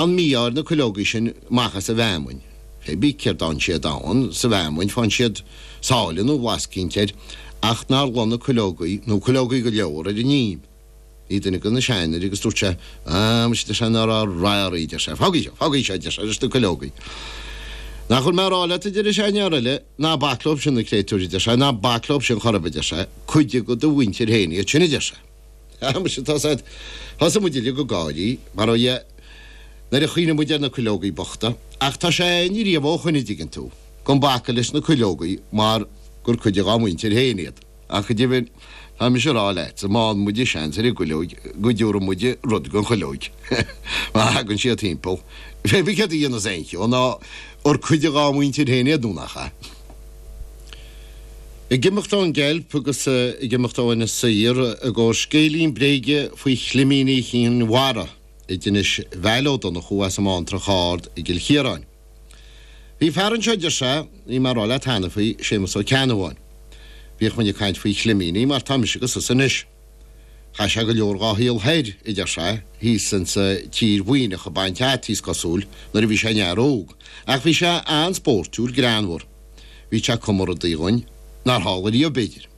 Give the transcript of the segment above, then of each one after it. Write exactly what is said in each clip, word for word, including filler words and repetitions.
An mí-ádh ar na cuileogaí sin amach as an bhfeamainn. Pé bí céard a fhánn siad ann sa bhfeamainn, fánn siad sáile nó blas eicínt air, ach nár lon na cuileogaí, nó cuileogaí go leor, ar an ím. Bhí duine de na seanfhir agus dúirt sé, Ah, muise, deir sé, nach raibh rath oraibh, deir sé, fágaigí seo, fágaigí seo, deir sé, leis na cuileogaí. Nach bhfuil mé a rá leat, a deir an seanfhear eile, ná bac leob sin na créatúir, a deir sé, ná bac leob sin chor ar bith, a deir sé, cuid de do mhuintir féin iad sin, a deir sé. Ah, muise, tá said, thosaigh muid uilig ag gáirí, mar ó dhia, nuair a chuimhnigh muid ar na cuileogaí bochta, ach tá sé a'ainn riamh ó shoin, a dtuigeann tú, gan bacadh leis na cuileogaí mar gur cuid de dhá muintir féin iad. Ach go deimhin, tá mise a rá leatsa, má fhaigheann muide seans ar an gcuileoig, go dtiúrfaidh muide rud gon chuileoig má thagann siad timpeall. Pé bí céard a dhéanas aon cheo ná gur cuid de dhá muintir féin iad nó nach ea. Ag imeacht ón gceilp agus ag imeacht ó Inis Oírr i gcomhair scéilín bréige faoi chlimíní Chinn Mhara a d'inis Val Ó Donnchú as an mBántrach Ard i gCill Chiaráin. Bhí fear anseo, a deir sé, bhí mé ag rá leat cheana faoi, Séamus Ó Ceannabháin. Bhíodh muid ag caint faoi chlimíní mar tá mise agus tusa anois. Chaith sé go leor dhá shaol thoir, a deir sé, thíos insa tír Mhuimhneach ag baint fhataí is cosúil nuair a bhí sé ina fhear óg. Ach bhí sé an-spóirtiúil, greannmhar. Bhí sé ag cumadh rudaí dhuinn nár tharla riamh, b'fhéidir.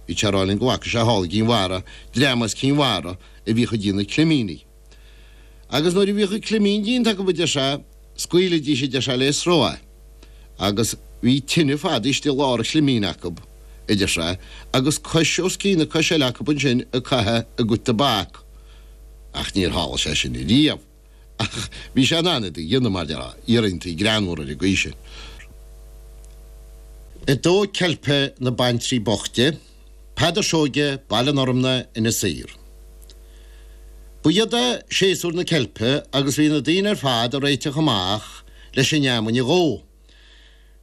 Bhí sé ag rá linn go bhfaca sé thall i gCinn Mhara dream as Cinn Mhara a bhíodh ag déanamh climíní. Agus nuair a bhíodh an climín déanta acu, a deir sé, scaoilidís, a deir sé, le sruth é. Agus bhí tine fada istigh i lár an chlimín acu, a deir sé, agus cois os cionn na coise eile acu ansin ag caitheamh a gcuid tobac. Ach níor tharla sé sin riamh. Ach bhí sé in ann iad a dhéanamh, mar déarfá, iarraintaí greannmhara ar an gcaoi sin. Ag dó ceilpe na baintrí boichte, Peadar Seoige, Baile an Fhormna, Inis Oírr. Ba iad é séasúr na ceilpe agus bhí na daoine ar fad ag réiteach amach leis an fheamainn a dhó.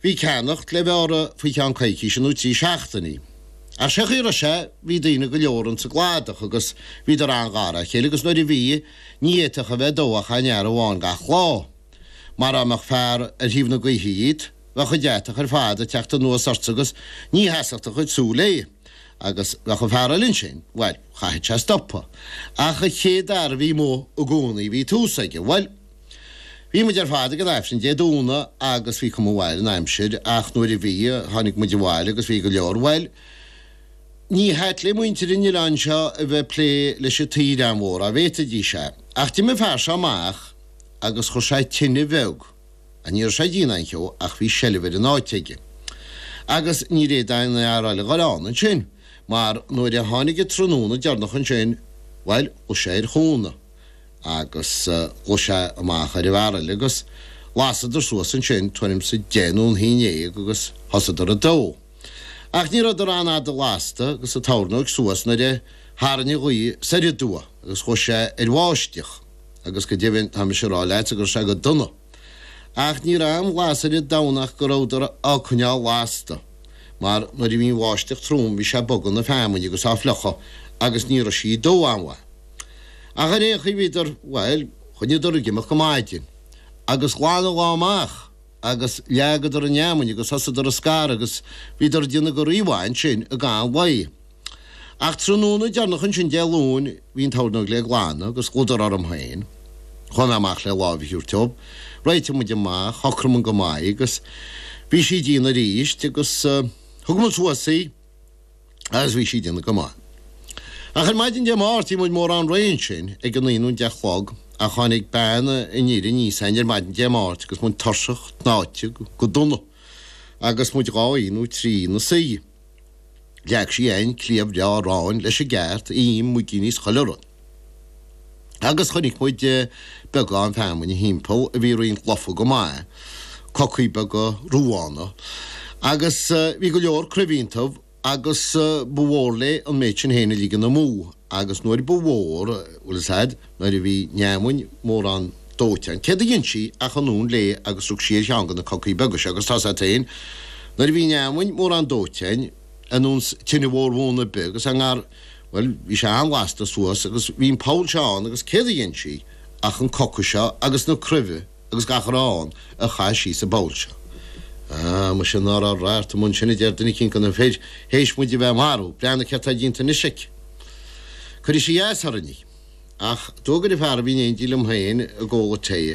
Bhí ceannacht le bheith orthu faoi cheann coicíse nó trí seachtainí. Ach sé chaoi a raibh sé, bhí daoine go leor ins an gcladach agus bhíodar an-ghar dá chéile agus nuair a bhí, ní fhéadfadh a bheith ag dó ach aon fhear amháin gach lá. Mar dá mbeadh fear ar thaobh na gaoithe dhíot, bheadh an deatach ar fad ag teacht anuas ortsa agus ní sheasfadh do chuid súl léi. Agus bheadh an fear eile ansin, bhuel, chaithfeadh sé stopadh. Ach an chéad fhear a bhí amuigh i gcónaí bhí tús aige. Bhuel, bhí muid ar fad ag an Aifreann Dé Domhnaigh agus bhí cuma mhaith ar an aimsir ach nuair a bhí, tháinig muid abhaile agus bhí go leor, bhuel, ní hait le muintir an oileáin seo a bheith ag plé leis an taoide an-mhór, dá bhféadfaidís é. Ach d'imigh an fear seo amach agus chuir sé tine bheag. Ach ní raibh sé ag déanamh aon cheo ach bhí seilbh ar an áit aige. Agus níor fhéad aon fhear eile dhul ann ansin, mar nuair a tháinig an tráthnóna deireanach ansin, bhuel, ghlaoigh sé ar chúnamh agus ghlaoigh sé amach ar an bhfear eile agus lasadar suas ansin tuairim 's a deich nó an haon dhéag agus thosaíodar ag dó. Ach ní rabhadar an-fhada lasta agus an tornóig suas nuair a tharraing an ghaoth soir aduaidh agus chuaigh sé ar bháisteach agus go deimhin tá mise a rá leatsa go raibh sé go dona. Ach ní raibh aon bhlas ar an domhan ach go rabhadar á coinneáil lasta, mar nuair a bhí an bháisteach trom bhí sé ag bogadh na feamainne agus á fliuchadh agus ní raibh sí ag dó an-mhaith. Ach ar aon chaoi bhíodar, bhuel, choinníodar ag imeacht go maidin. Agus ghlan an lá amach agus leagadar an fheamainn agus thosaíodar ag scaradh agus bhíodar ag déanamh go rímhaith ansin i gcaitheamh an lae. Ach tráthnóna deireanach ansin Dé Luain bhí an tornóg le glanadh agus ghlaodar orm féin. Chuaigh mé amach le lámh a thabhairt dóibh. Réitigh muid amach, shocraigh muid go maith agus bhí sí ag déanamh arís agus thug muid suas í agus bhí sí ag déanamh go maith. Ach ar maidin Dé Máirt bhí muid mórán réidh ansin ag a naoi nó an deich a chlog ach tháinig bean an fhir aníos againn ar maidin Dé Máirt agus muid tuirseach tnáite go dona agus muid dhá oíche nó trí ina suí. Leag sí againn cliabh breá aráin leis an gceart, im, muigíní is chuile rud. Agus chonaic muid beagán feamainne thimpeall a bhí roinnt lofa go maith, cocaí beaga ruadhána, agus bhí go leor cruimh iontu agus ba mhór léi an méid sin féin a ligean amú agus nuair ba mhór, bhfuil fhios a'd, nuair a bhí an fheamainn mórán dóite ann, céard a dhein sí ach anonn léi agus rug sí ar cheann de na cocaí beaga seo agus tá's a'd féin, nuair a bhí an fheamainn mórán dóite ann, ar nós tine mhór mhóna ar bith agus an ngar, bhuel, bhí sé an-lasta suas agus bhí an poll seo ann agus céard a dhein sí ach an coca seo agus na cruimhe agus gach a raibh ann a chaith sí sa bpoll seo. Ah, muise ná raibh radharc amuigh ansin a deir duine eicínt de na fir, théis muid a bheith marbh, breathnaigh céard tá déanta anois aici. Cuirfidh sí as orainn í. Ach d'fhógair an fear a bhí in éindí liom féin ag ól tae